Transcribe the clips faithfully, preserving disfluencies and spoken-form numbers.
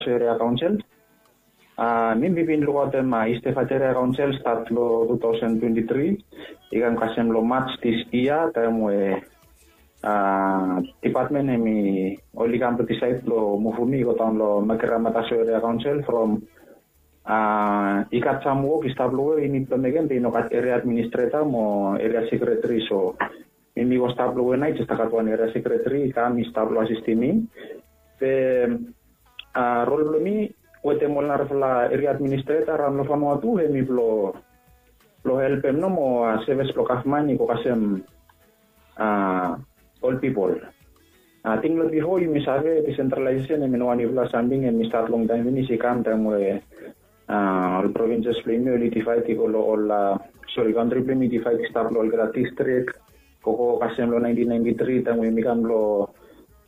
Mataso Area Council. A mi mi bin lukaotem a East Efate Area Council stat long two thousand twenty three i kam kasem long March this year, taem we a dipatmen hemi oli kam long disaed blong muvum mi i go daon long Makira Mataso Area Council from a i gat sam wok i stap long we i nid blong mekem be i no gat area administreta mo area sekretari. So mi mi go stap long we nao i jes gat wan area sekretari i kam i stap long asistim mi. Be a rol blong mi wetem ol narafala area administreta raon long Vanuatu hemi blong blong helpem nomo a sevis blong gavman i go kasem a ol pipol. Ating long bifo yumi save desentralaesesen hemi no wanifala samting hemi stat longtaem finis, i kam taem we a ol provinses blong yumi oli divaed i go long ol a sori, kantri blong yumi i divaed i stap long olgeta distrik. Gogo kasem long nineteen ninety three taem we yumi kam long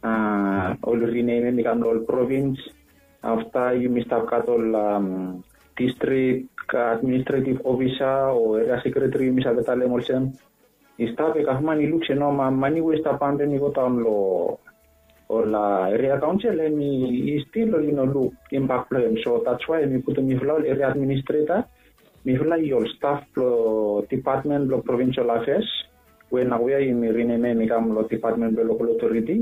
a oli rinemem i kam long ol provins. Afta yumi stap gat ol a distrik administretiv ofisa o area sekretari yumi save talem olsem. I stap we gavman i luk se no mani we i stap pampem i go daon long ol a area kaonsel hemi i stil oli no luk impak blong hem. So dats wae hemi putum mifala ol area administreta, mifala i ol staf blong dipatmen blong provinsel afeas we naoia yumi rinemem i kam long dipatmen blong lokal otoriti.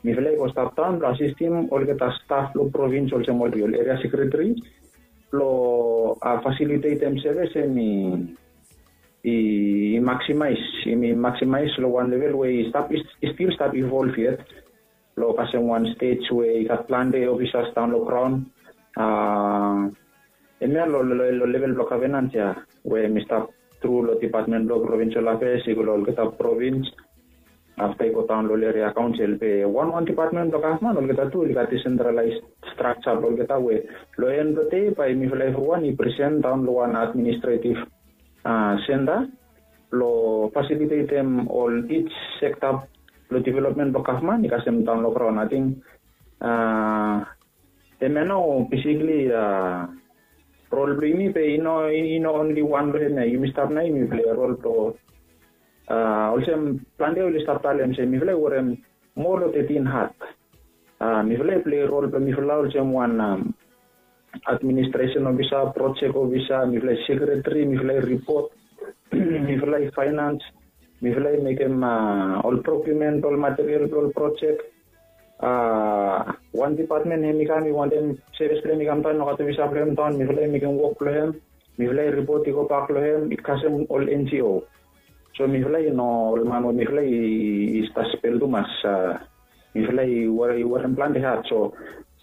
Mifala i go stap daon blong asistim olgeta staf blong provins olsem ol area sekretari blong fasilitetem sevis hemi i maksimaes, i maksimaes long wan level we i stap, i stil stap ivolv yet. Long kasem wan stej we i gat plante ofisas daon long graon. A hemia long level blong gavenans ya we mi stap tru long dipatmen blong provinsel afeas i go long olgeta provins. Afta i go daon long ol area kaonsel be wanwan dipatmen blong gavman olgeta tu oli gat disentralaes strakja blong olgeta we long en blong dei bae mifala evriwan i presen daon long wan administretiv a senta blong fasilitetem ol ij sekta blong developmen blong gavman i kasem daon long graon. Ating a hemia nao besikli a rol blong yumi be i no, i no onli wan long hemia. Yumi stap nao yumi pilai rol blong a olsem plante oli stap talem se mifala i werem moa long tetin hat. A mifala i pilai rol blong mifala olsem wan administresen ofisa, projek ofisa, mifala i sekretari, mifala i ripot, mifala i faenans, mifala i mekem a ol prokiumen blong ol material blong ol projek. A wan dipatmen hemi kam i wantem sevis blong hem i kam daon i no gat ofisa blong hem daon, mifala i mekem wok blong hem. Mifala i ripot i gobak long hem i kasem ol NGO. So mifala i no ol man we mifala i stap spel tumas. A mifala i werem plante hat. So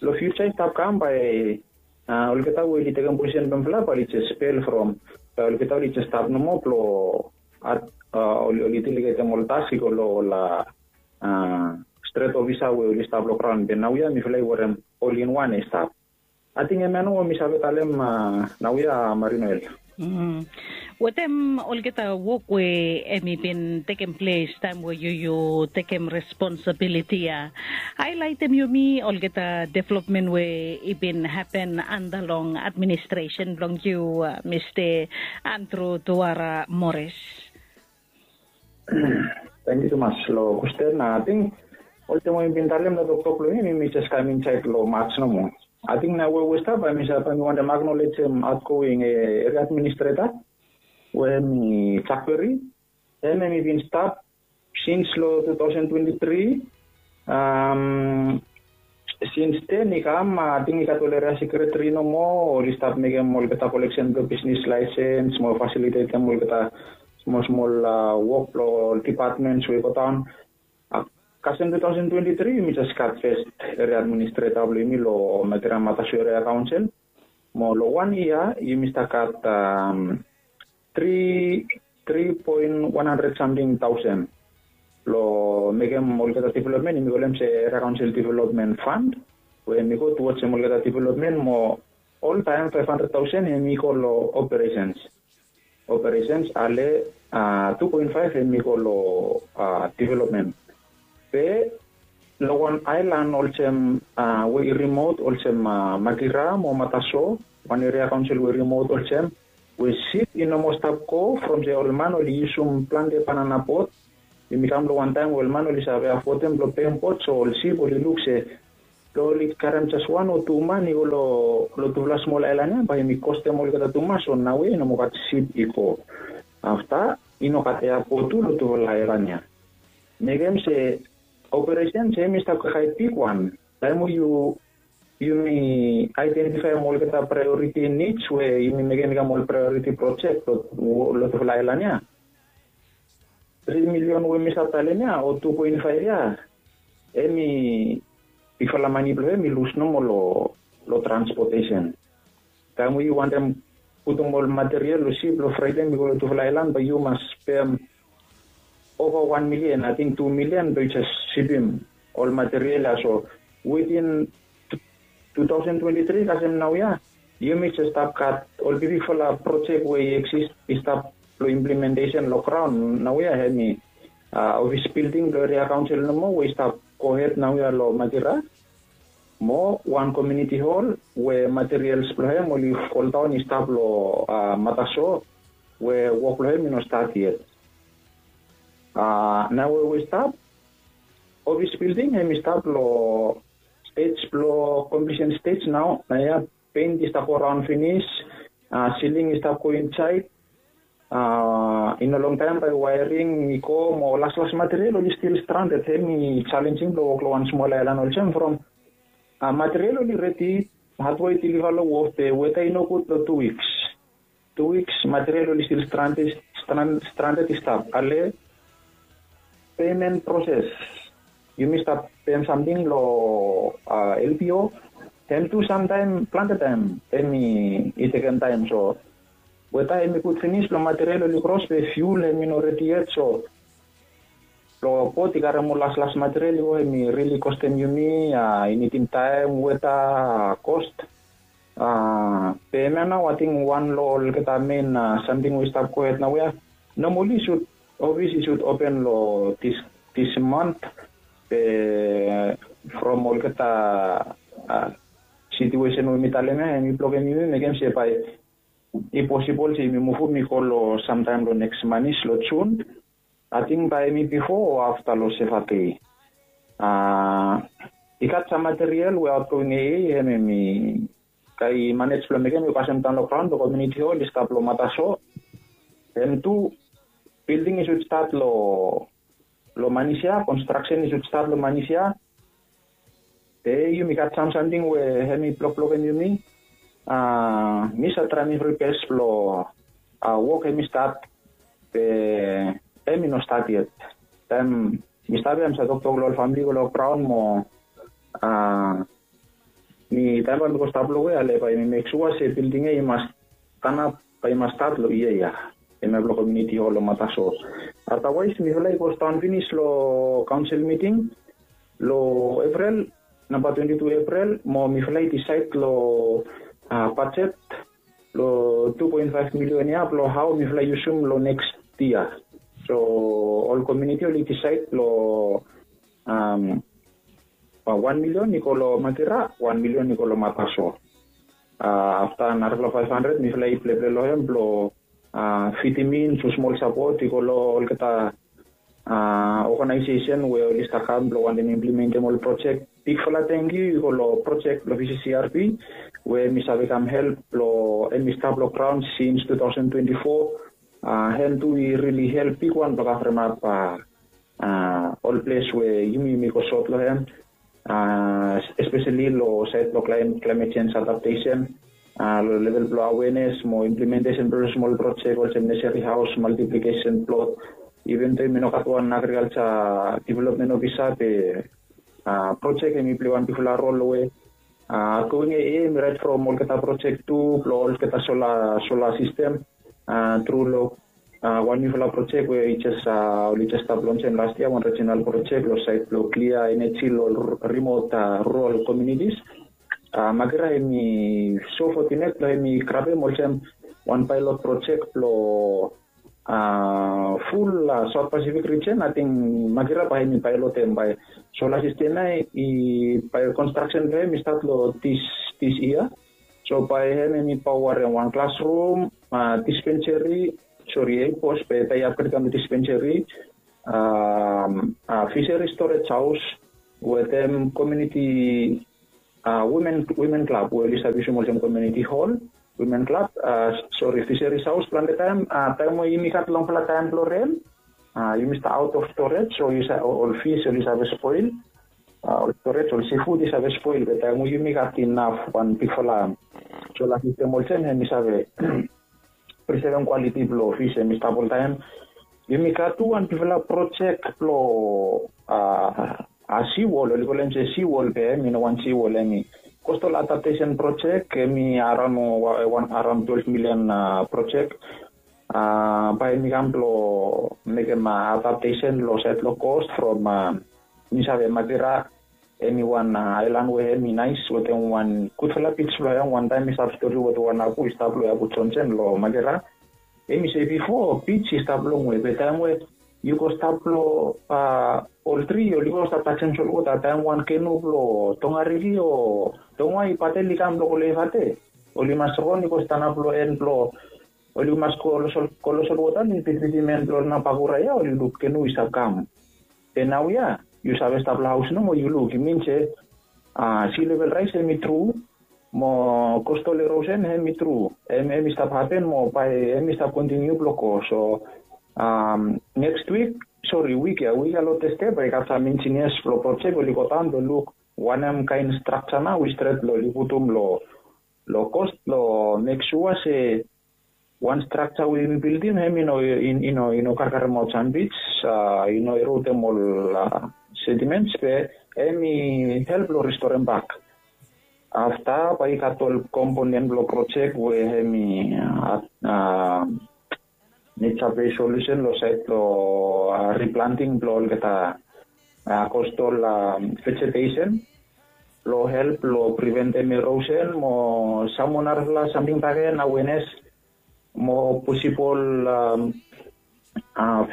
long fiuja i stap kam bae a olgeta we oli tekem posisen blong mifala bae oli jes spel from, bae olgeta oli jes stap nomo blong a oli delegetem ol task i go long ol a stret ofisa we oli stap long graon. Be naoia mifala i werem ol inwan i stap. Ating hemia nao we mi save talem a naoia Marinoel. Wetem olgeta wok we hemi bin tekem ples taem we yu yu tekem responsabiliti ya, haelaetem yumi olgeta developmen we i bin hapen anda long administresen blong yu, Mista Andrew Tuara Morris? Tangkiu tumas long kwesten. Ating olsem we mi bin talem long toktok blong mi, mi jes kam insaed long March nomo. Ating nao we we stap bae mi save, bae mi wantem aknolejem aotgoing area administreta we hemi Jakberi. Hem hemi bin stap sins long two thousand twenty three. Sins ten i kam ating i gat ol area sekretari nomo oli stap mekem olgeta koleksen blong bisnis laesens mo fasilitetem olgeta smol smol wok blong ol dipatmens we i go daon. Kasem two thousand twenty three yumi jes gat fes area administreta blong yumi long Makira Mataso Area Kaonsel. Mo long wan yia yumi stap gat tri tri poen wan handred samting taosen blong mekem olgeta developmen, yumi kolem se area kaonsel developmen fan we hemi go tuwajem olgeta developmen mo oltaem faef handred taosen hemi go long operesens. Operesens ale a tu poen faef hemi go long developmen. Be long wan aelan olsem we i rimot olsem Makira mo Mataso, wan eria kaonsel we i rimot olsem we sip i no moa stap go from se ol man oli yusum plante banana bot. Yumi kam long wan taem we ol man oli save afodem blong pem bot, so ol sip oli luk se Blong oli karem jes wan o tu man i go long tufala smol aelan ya bae yumi kostem olgeta tumas. So naoia i no moa gat sip i go. Afta i no gat eapot tu long tufala aelan ya. Mekem se operesen se hem i stap kaikai bigwan taem we yumi aedentifaem olgeta praeoriti nits we yumi mekem i kam ol praeoriti projek long tufala aelan ya. Tri milion we mi save talem ya o tu poen faef ya, hem i bigfala mane blong hem i lus nomo long transpotesen. Taem we yu wantem putum ol materiel long sip long fraetem i go long tufala aelan bae yu mas pem ova wan milian, ating tu milian blong yu jes sipim ol materiel ya. So witin tu taosen twenti tri kasem naoia yumi jes stap gat ol bigbigfala projek we i eksis i stap long implementesen long graon. Naoia hem i ofis bilding blong eria kaonsel nomo we i stap gohed naoia long Magira. Mo wan komiuniti hol we materiels blong hem oli foldaon i stap long Mataso we wok blong hem i no stat yet. Naoia we i stap, ofis bilding hem i stap long stej blong komplisen stej nao. Naoia peint i stap go raon finis, siling i stap go insaed. I no longtaem bae waering i go mo laslas materiel oli stil stranded. Hem i jalenjing blong wok long wan smol aelan olsem from materiel oli redi, hatwe i diliva long wof be weta i nogud long tu wiks. Tu wiks materiel oli stil stranded i stap. Ale pemen proses, yumi stap pem samting long lpo, hem tu samtaem plante taem hem i tekem taem. So weta hem i gud finis blong materiel oli kros be fiul hem i no redi yet. So blong bot i karem ol laslas materiel i go hem i rili kostem yumi, i nidim taem, weta, kost. Be hemia nao ating wan long olgeta men samting we i stap gohed naoia. Nomali i sud, ofis i sud open long dis mant. Be from olgeta situesen we mi talem ya hem i blokem yumi mekem se bae i posibol se yumi muvum i go long samtaem long neks manis long Jun. Ating bae hem i bifo o afta long Sevate. I gat sam materiel we aotgoing ea hem hem i gat i manej blong mekem i go kasem daon long graon blong komiuniti hol i stap long Mataso. Hem tu bilding i sud stat long long Manisia, konstraksen i sud stat long Manisia. Be yumi gat sam samting we hem i blokblokem yumi. Mi save traem evri bes blong wok hem i stat, be hem i no stat yet. Taem mi stap ya mi save toktok long ol famili go long graon mo mi taem bae mi go stap long we ale bae mi mek sua se bilding ya i mas tanap bae i mas stat long yia ya. Hemia blong komiuniti hol long Mataso. Adawaes mifala i gostaon finis long kaonsel miting long Eprel, namba twenti tu Eprel, mo mifala i disaed long bajet long tu poen faef milion ya blong hao mifala i yusum long neks yia. So ol komiuniti oli disaed long wan milion i go long Magira, wan milion i go long Mataso. Afta narafala faef handred mifala i pleple long hem blong fidim in tu smol sapot i go long olgeta oganaesesen we oli stap kam blong wantem implementem ol projek. Bigfala tangkiu i go long projek blong VCCRP we mi save kam help blong hem i stap long graon sins tu taosen twenti fo. Hem tu i rili help bigwan blong kavremap ol ples we yumi yumi go sot long hem, espeseli long saed blong klaemet jenj adaptesen, long level blong awenes mo implementesen blong smol projek olsem neseri haos, maltiplikesen plot. Iven do yumi no gat wan agrikalja developmen ofisa be projek hem i pilei wan bigfala rol long we aotgoing ea hem i raet from olgeta projek tu blong olgeta sola sistem tru long wan niufala projek we i jes oli jes stap lonsem las yia, wan rijinal projek long saed blong klia eneji long rimot rural komiunitis. Magira hem i so fotinet blong hem i grabem olsem wan paelot projek blong ful Saot Pasifik rijen. Ating Magira bae hem i paelotem bae sola sistem ya i bae konstraksen blong hem i stat long dis yia. So bae hem hem i paoarem wan klasrum, dispenseri, sori, ei pos be bae i apgredem long dispenseri, fiseri storage haos wetem komiuniti women women club we oli save yusum olsem community hall, women club, sori, fisheries house. Plante taem, taem we yumi gat longfala taem blong ren, yumi stap out of storage, so ol fish oli save spoil, ol storage, ol seafood i save spoil. Be taem we yumi gat inaf wan bigfala solar system olsem, hem i save prisevem kwaliti blong fish, hem i stap oltaem. Yumi gat tu wan bigfala projek blong a siwol, oli kolem se siwol, be hem i no wan siwol, hem i coastal adaptation projek, hem i araon wan, araon twelve million projek. Bae hem i kam blong mekem adaptation long saed long coast from, mi save, Makira, hem i wan aelan we hem i naes wetem wan gudfala beach blong hem. Wantaem mi stap stori wetem wan apu i stap long Abu Johnson long Makira. Hem i se bifo beach i stap longwe, be taem we yu go stap long ol tri, oli go stap tajem solwota, taem wan kenu blong Tongariri o Tongwai, Patel i kam blong go lefate, oli mas ron i go stanap long en blong, oli mas go long solwota, oli bitibitim en blong Nabakura ia, oli luk kenu i stap kam. Be naoia yu save stap long haos nomo, yu luk, i min se sea level rise hem i tru, mo coastal erosion hem i tru, hem i stap hapen mo bae hem i stap kontiniu blong go. So next week, sori, wik ia, wik ia long Thursday bae i gat sam engineers blong projek oli go daon blong luk wanem kaen structure nao i stret blong oli putum long coast blong mek sua se wan structure we yumi bildim hem i no, i no, i no karkaremaot sam beach, i no erodem ol sediments, be hem i help long restorem bak. Afta bae i gat ol component blong projek we hem i nature based solution long saed blong replanting blong olgeta coastal vegetation blong help long preventem erosion mo sam moa narafala samting bakegen, awareness mo posibol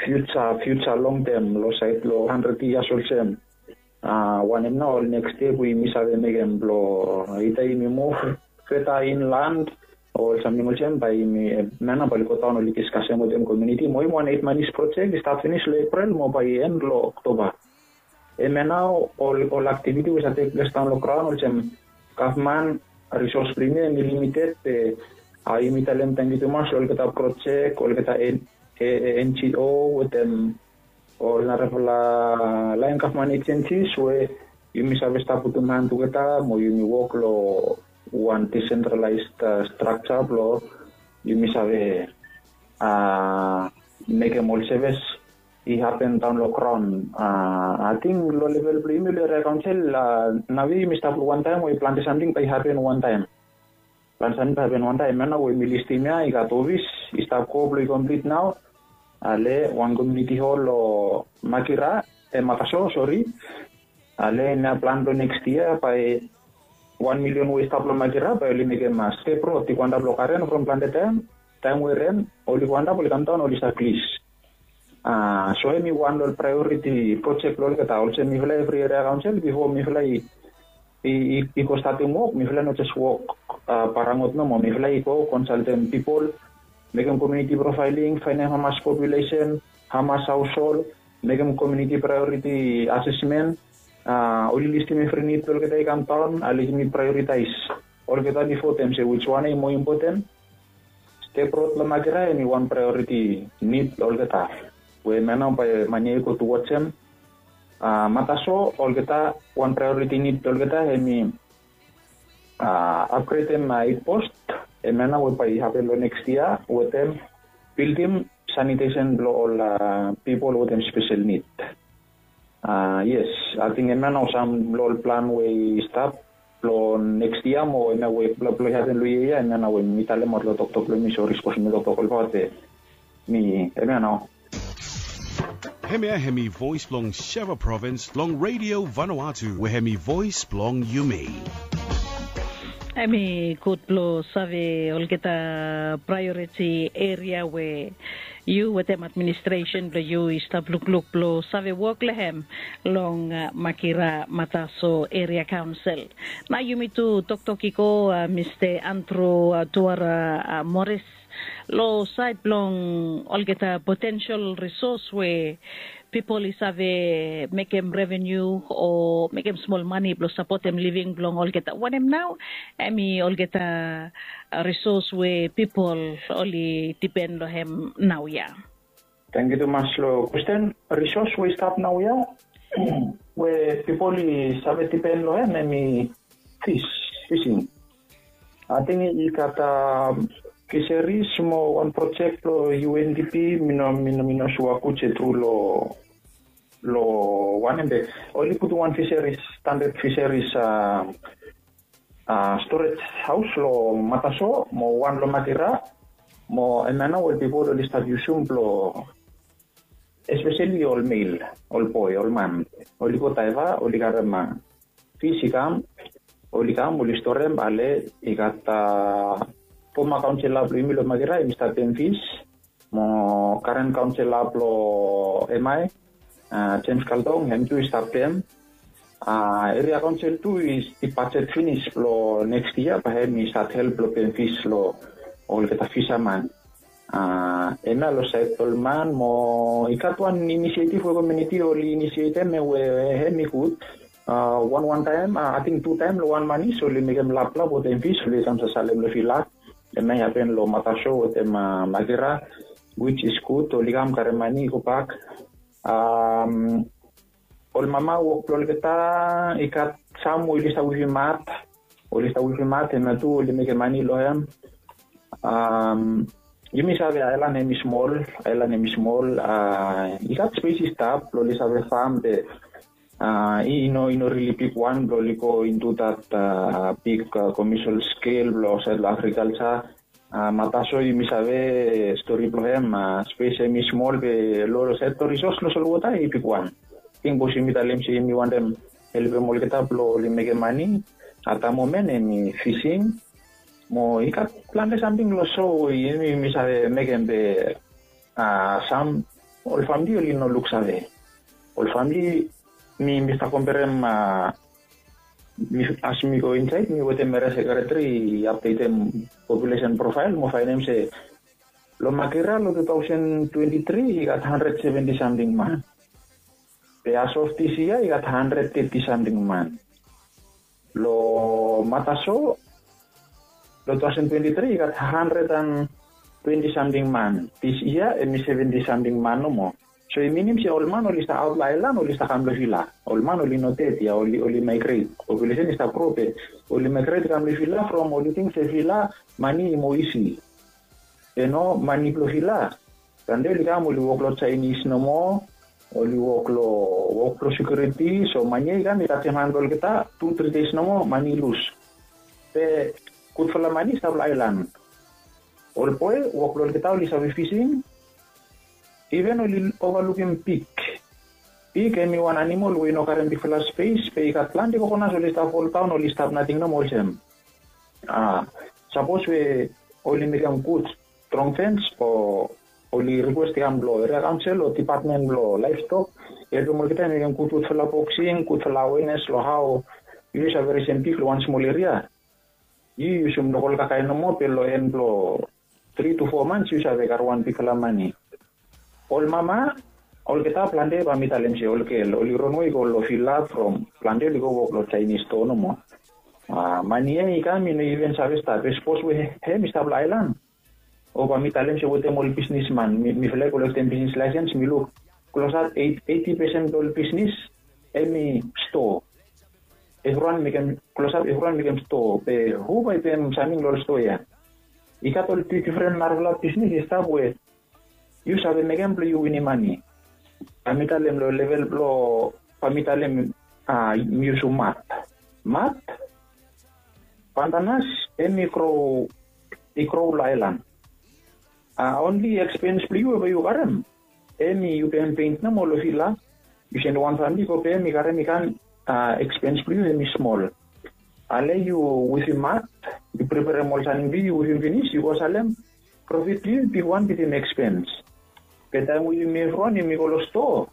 future, future long term long saed long hundred years olsem. Wanem nao ol next step we yumi save mekem blong ita yumi muv feta inland o ol samting olsem, bae yumi, hemia nao bae oli go daon oli diskasem wetem komuniti mo hem wan eit manis projek i stat finis long Epril mo bae i en long Oktoba. Hemia nao ol aktiviti we save tekples daon long graon olsem gavman risos blong yumi hem i limited, be yumi talem tangkiu tumas long olgeta projek, olgeta NGO wetem ol narafala laen gavman agencies we yumi save stap putum han tugeta mo yumi wok long wan decentralized structure blong yumi save mekem ol sevis i hapen daon long graon. Ating long level blong yumi long eria kaonsel, naoia yumi stap long wantaem we plante samting bae i hapen wantaem. Plante samting bae i hapen wantaem. Hemia nao we mi listim ia, i gat ofis i stap go blong i komplit nao. Ale wan komuniti hol long Makira, e, Mataso, sori. Ale hemia plan blong next yia bae wan milion we i stap long Makira bae oli mekem step rod i go antap long garen from plante taem, taem we ren oli go antap, oli kamdaon, oli save glis. So hem i wan long ol priority projek blong olgeta. Olsem mifala evri eria kaonsel, bifo mifala i, i go statem wok, mifala no jes wok parangot nomo. Mifala i go konsaltem pipol, mekem community profiling, faenem hamas populesen, hamas haoshol, mekem community priority assessment, oli listim evri nid blong olgeta i kamdaon, ale yumi prioritaes olgeta bifo, talem se wiswan ia i moa impoten. Step rod long Makira hem i wan priority nid blong olgeta we hemia nao bae man ia i go tuwajem. Mataso, olgeta, wan priority nid blong olgeta hem i apgredem eit post, hemia nao we bae i hapen long next yia, wetem bildim sanitesen blong ol pipol wetem spesel nid. Yes, ating hemia nao sam long ol plan we i stap long next yia mo hemia we blong i hapen long yia ia, hemia nao we mi talemaot long toktok blong mi, sori sapos mi toktok olbaot, be mi, hemia nao. Hemia hem i voes blong Sheva Provins long Radio Vanuatu we hem i voes blong yumi. Hem i gud blong save olgeta priority eria we yu wetem administresen blong yu i stap lukluk blong save wok long hem long Makira Mataso Eria Kaonsel. Nao yumi tu toktok i go, Mista Andrew Tuara Morris, long saed blong olgeta potensel risos we pipol i save mekem reveniu o mekem smol mane blong sapotem living blong olgeta wanem nau em i olgeta, risos we pipol oli dipen long em nau ya. Tangkiu tumas long kwesten. Risos we i stap nau ya we pipol i save dipen long em em i fis, fising. Ating i gat fiseris mo wan projek blong undp. Mi no mi no mi no sua gud se tru long long wanem be oli putum wan fiseris, standard fiseris a storage haus long mataso mo wan long makira. Mo em ya nao ol pipol oli stap yusum blong espeseli ol mel, ol boe, ol man, oli go daiva, oli karem fis i kam, oli kam oli storem. Ale i gat foma kaonsela blong yumi long makira em i stap pem fis, mo karen kaonsela blong emai, jems kaldong, hem tu i stap pem. Eria kaonsel tu i bajet finis blong neks yia bae hem i stat help blong pem fis long olgeta fisaman. Hem ya long saed blong ol man mo i gat wan inisietiv we komiuniti oli inisietem we hem i gud. Wan wan taem ating tu taem long wan manis oli mekem laplap wetem fis oli kam sasalem long vila. Hem ya i hapen long mataso wetem makira, wits is gud oli kam karem mane i gobak. Ol mama wok blong olgeta i gat sam we oli stap wifim mat, oli stap wifim mat hem ya tu oli mekem mane long hem. Yumi save aelan hem i smol, aelan hem i smol. I gat spes i stap blong oli save fam be i no i no rili bigwan blong oli go intu dat big komesial skel blong olsait long agrikalsa. Mataso yumi save stori blong hem, spes hem i smol be long olsait long risos long solwota i bigwan. Ting bos yumi talem se yumi wantem helpem olgeta blong oli mekem mane. Atamomen hem i fising mo i gat plante samting long so we yumi yumi save mekem be sam ol famili oli no luksave. Ol famili mi mi stap komperem as mi go insaed mi wetem meria sekreteri i apdetem populesen profael mo faenem se long makira long tu taosen twenti tri i gat handred seventi samting man. Be as of dis yia i gat handred teti samting man. Long mataso long tu taosen twenti tri i gat handred an twenti samting man. Dis yia hem i seventi samting man nomo. So i minim se ol man oli stap aot long aelan oli stap kam long vila. Ol man oli no ded ya oli oli maigret. Populesen i stap gro be oli maigret i kam long vila from oli ting se vila mane i moa isi. Be no mane blong vila. Plante oli kam oli wok long sainis nomo, oli wok long wok blong sekiuriti. So mane ya i kam i tajem han blong olgeta tu tri deis nomo mane i lus. Be gudfala mane i stap long aelan. Ol boe wok blong olgeta oli save fising. Iven oli ovalukim pik. Pik hem i wan animal we i no karem bigfala spes be i gat plante kokonas oli stap foldaon oli stap nating nomo olsem. Sapos we oli mekem gud strong fens o oli rikwes i kam long eria kaonsel o dipatmen blong laevstok i helpem olgeta i mekem gudgudfala boksing gudfala awenes long hao yu save resem pik long wan smol eria. Yu yusum lokol kakae nomo be long en blong tri tu fo mans yu save gat wan bigfala mane. Ol mama olgeta plante bae mi talem se ol gel oli ronwe i go long vila from plante oli go wok long sainis stoa nomo. Mane ya i kam i no iven save stap be sapos we hem i stap long aelan o bae mi talem se wetem ol bisnisman mifala i kolektem bisnis laesens mi luk klosap eiti pesen blong ol bisnis hem i stoa. Evriwan mekem klosap evriwan mekem stoa be hu bae i pem samting long ol stoa ya? I gat ol difren narafala bisnis i stap we yu save mekem blong yu winim mane. Bae mi talem long level blong bae mi talem mi yusum mat. Mat, pantanas hem i gro i gro long aelan. Onli ekspens blong yu we bae yu karem hem i yu pem pent nomo long vila. Yu sendem wan famili i go pem i karem i kam ekspens blong yu hem i smol. Ale yu wifim mat, yu preperem ol samting blong yu yu wifim finis yu go salem. Profit blong yu i bigwan bitim ekspens. Be taem we yumi evriwan yumi go long stoa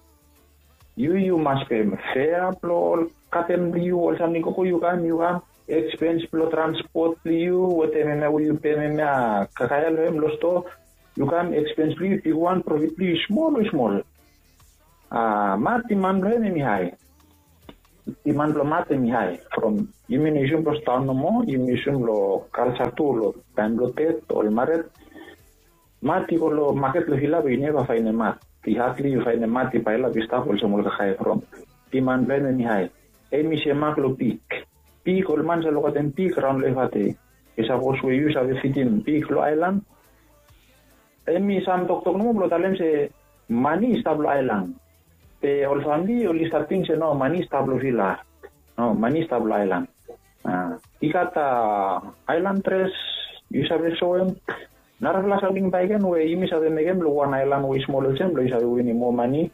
yu yu mas pem fea blong ol katen blong yu ol samting gogo yu kam yu kam ekspens blong transpot blong yu wetem hemia we yu pem hemia kakaea long hem long stoa. Yu kam ekspens blong yu i bigwan profit blong yu i smol o i smol. A, mat i man blong hem hem i hae. I man blong mat hem i hae from yumi no yusum blong staon nomo, yumi yusum long kalsa tu long taem blong ded ol mared. Mat i go long maket long vila be yu neva faenem mat. I hatli yu faenem mat i paelap i stap olsem ol kakae from diman blong hem hem i hae. Hem i semak long pik. Pik, ol man save lokatem pik raon long evate. I sapos we yu save fidim pik long aelan, hem i sam toktok nomo blong talem se mani i stap long aelan. Be ol famili oli save ting se no, mani i stap long vila. No, mani i stap long aelan. I gat aelan dres yu save soem. Narafala samting bakegen we yumi save mekem long wan aelan we i smol olsem blong yu save winim moa mani.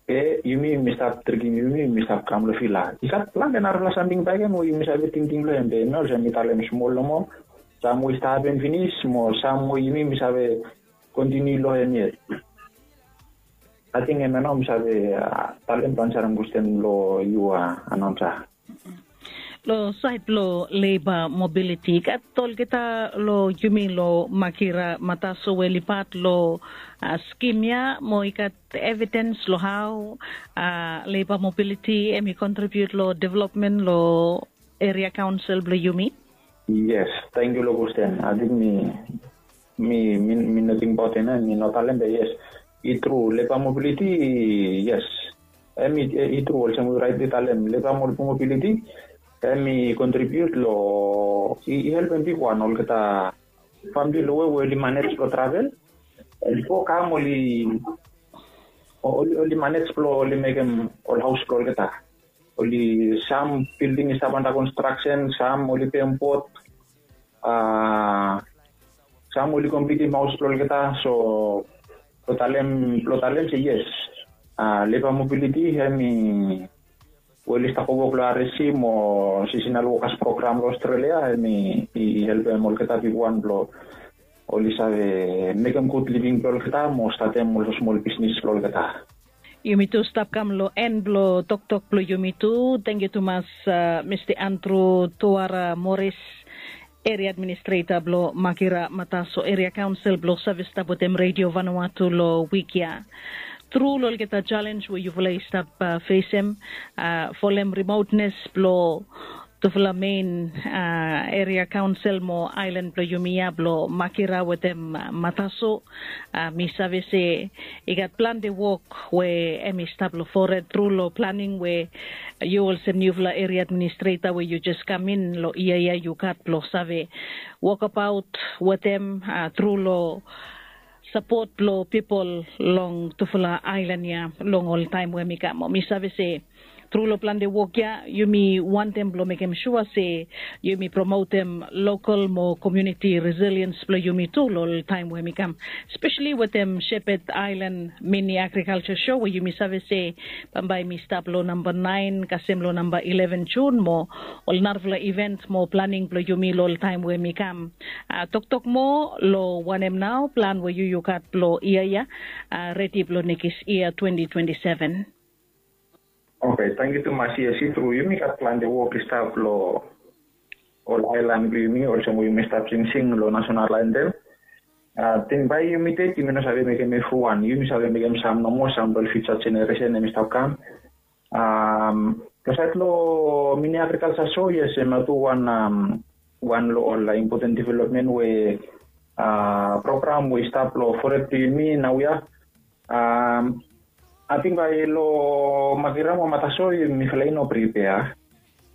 Be yumi yumi stap trikim yumi yumi stap kam long vila. I gat plante narafala samting bakegen we yumi save tingting long hem, be hemia olsem mi talem smol nomo. Sam we i stap hapen finis mo sam we yumi yumi save kontiniu long hem yet. Ating hemia nao mi save talem blong ansarem kwestin blong yu, anaonsa. Long saed blong leba mobiliti, i gat olgeta long yumi long Makira Mataso we oli pat long skim ya, mo i gat evidens long hao leba mobiliti hem i kontribiut long developmen long eria kaonsel blong yumi? Yes, tangkiu long kwestin. Ating mi mi mi mi no tingbaot hemia, mi no talem, be yes, i tru, leba mobiliti, yes. Hem i tru, olsem we yu raetli talem, leba mobiliti hem i kontribiut long, i helpem bigwan olgeta famili long we we oli manej blong travel. Oli go kam, oli oli manej blong oli mekem ol haos blong olgeta. Oli sam bilding i stap anda konstraksen, sam oli pem bot, a sam oli komplitim haos blong olgeta. So blong talem blong talem se yes, a leba mobiliti hem i we oli stap wok long R S C mo sisinal wokas program long Australia, hem i helpem olgeta bigwan blong oli save mekem gud living blong olgeta mo statem ol smol bisnis blong olgeta. Yumi tu stap kam long en blong toktok blong yumi tu. Tangkiu tumas, Mista Andrew Tuara Morris, eria administreta blong Makira Mataso Eria Kaonsel, blong save stap wetem Redio Vanuatu long wik ya. Tru long olgeta jalenj we yufala i stap fesem, folem rimotnes blong tufala mein eria kaonsel mo aelan blong yumi ya blong Makira wetem Mataso. Mi save se i gat plante wok we hem i stap long fored tru long planing we yu olsem niufala eria administreta we yu jes kam in long yia ya yu gat blong save wokabaot wetem tru long sapot blong pipol long tufala aelan ya long ol taem we hem i kam. Mi save se tru long plante wok ya yumi wantem blong mekem sua se yumi promotem lokal mo komuniti resiliens blong yumi tu long ol taem we hem i kam, spesali wetem Shepherd Island Mini Agriculture Show we yumi save se bambae hem i stap long namba naen kasem long namba ileven Jun mo ol narafala iven mo planing blong yumi long ol taem we hem i kam. Toktok moa long wanem nao plan we yu yu gat blong yia ya redi blong nekis yia twenti twenti seven. Oke, tangkiu tumas. Yes, i tru, yumi gat plante wok i stap long ol aelan blong yumi olsem we yumi stap singsing long nasonal antem. Ating bae yumi ded yumi no save mekem evriwan, yumi save mekem sam nomo, sam blong ol fiuja jeneresen hem i stap kam. Long saed long mini agrikalja so, yes, hemia tu wan wan long ol impoten developmen we program we i stap long fored blong yumi naoia. Ating bae long Makira mo Mataso mifala i no pripea.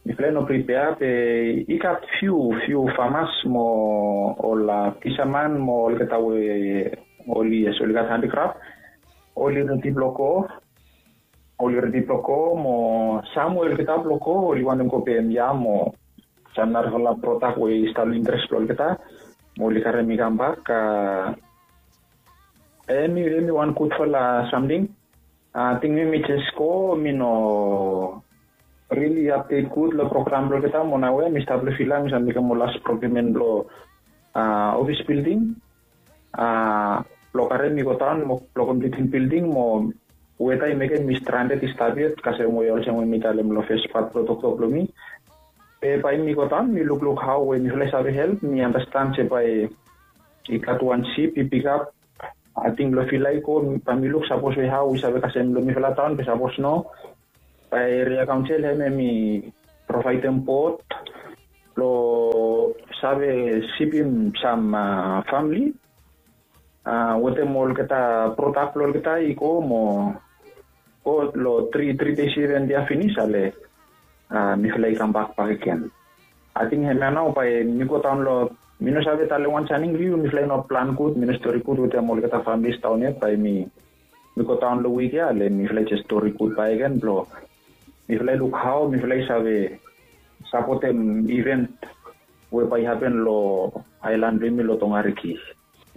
Mifala i no pripea, be i gat fiu fiu famas mo ol fisaman mo olgeta we oli, yes, oli gat handikraf, oli redi blong go. Oli redi blong go mo sam we olgeta blong go oli wantem go pem yam o sam narafala prodak we i stap long interes blong olgeta mo oli karem i kambak. Hem i wan gudfala samting. Ating mi mi jes go, mi no rili apdet gud long program blong olgeta mo naoia mi stap long vila, mi save mekem ol las prokiumen blong ofis bilding blong karem i godaon mo blong komplitim bilding mo weta i mekem mi strandet i stap yet, kasem we olsem we mi talem long fes pat blong toktok blong mi. Be bae mi godaon mi lukluk hao we mifala i save help, mi andastan se bae i gat wan sip i pikap Ating blong fila i go, bae mi luk sapos we hao i save kasem long mifala taon be sapos no, bae eria kaonsel hem hem i provaedem bot blong save sipim sam famili wetem olgeta prodak blong olgeta i go mo go long tri tri dei seven dia finis ale mifala i kambak bakegen. Ating hemia nao bae mi go daon long, mi no save talem wan saning long yu, mifala i no plan gud, mi no stori gud wetem olgeta familis daon yet, bae mi mi go daon long wik ya ale mifala i jes stori gud bakegen blong mifala i luk hao mifala i save sapotem iven we bae i hapen long aelan blong yumi long Tongariki.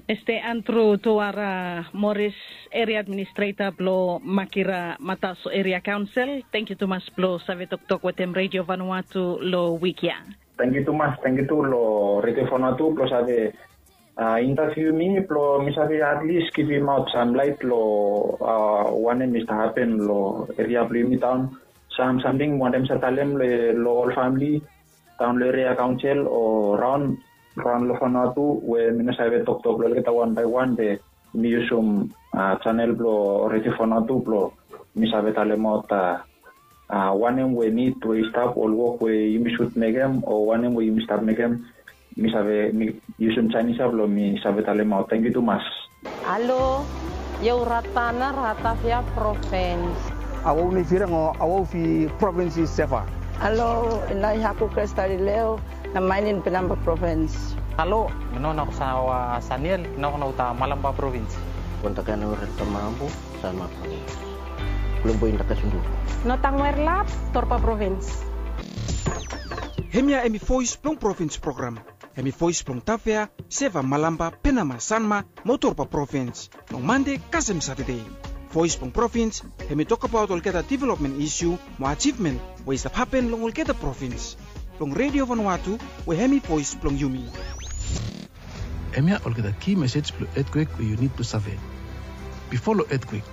Este Andrew Tuara Morris, eria administreta blong Makira Mataso Eria Kaonsel, tangkiu tumas blong save toktok wetem Redio Vanuatu long wik ya. Tangkiu tumas, tangkiu tu long Redio Vanuatu blong save intaviu mi blong mi save atlis givimaot sam laet long wanem i stap hapen long eria blong yumi daon, sam samting wanem sa talem long ol famili daon long eria kaonsel o raon raon long Vanuatu we mi no save toktok long olgeta wan bae wan be mi yusum chanel blong Redio Vanuatu blong mi save talemaot wanem we nid we i stap, ol wok we yumi sud mekem o wanem we yumi stap mekem, mi save mi yusum Chinese ya blong mi save talemaot. Tangkiu tumas. Alo, yau Ratana Ratavia Provins. Awau nei firang o awau fi provins i seva. Alo, inai haku Kresta Lileo, na mainin Penamba Provins. Alo, mi no na kusa wa Saniel, na kuna uta Malamba Provins. Kontakana ura tamabu, sama provins. Kulumbu inda kasundu. No tangwer lap, Torpa Provins. Hemia hemi voes blong provins program. Hemi voes blong Tavea, Seva, Malamba, Penama, Sanma mo Torpa provins long Mande kasem Satade. Voes blong provins hemi tokbaot olgeta developmen isiu mo ajivmen we i stap hapen long olgeta provins. Blong Redio Vanuatu we hemi voes blong yumi. Hemia olgeta ki mesej blong etkwek we yu nid blong save. Bifo long etkwek,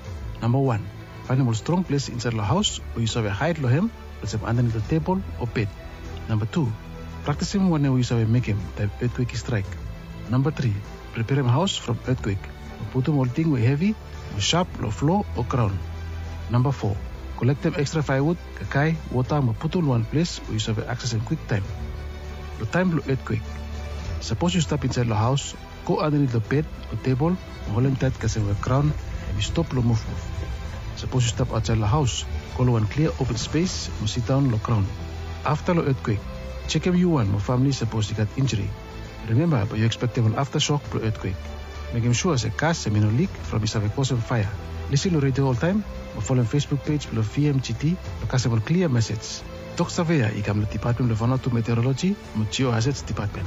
namba wan, faenem ol strong ples insaed long haos we yu save haed long hem, olsem andanit long tebol o bed. Namba tu, praktisim wanem we yu save mekem taem etkwek i straek. Namba tri, preperem haos from etkwek mo putum ol ting we hevi mo sap long flo o graon. Namba fo, kolektem ekstra faewud, kakae, wota mo putum long wan ples we yu save aksesem kwiktaem. Long taem blong etkwek, sapos yu stap insaed long haos, go andanit long bed o tebol mo holem taet kasem we graon hemi stop long muvmuv. Sapos yu stap aotsaed long haos, go long wan klia open spes mo sidaon long graon. Afta long etkwek, jekem yu wan mo famili sapos i gat injuri. Rimemba bae yu ekspektem ol aftasok blong etkwek. Mekem sua se gas hemi no lik from i save kosem faea. Lisin long redio oltaem mo folem Facebook pej blong V M G T blong kasem ol klia mesej. Tok save ya i kam long Depatmen blong Vanuatu Meteoroloji mo Geohazards Depatmen.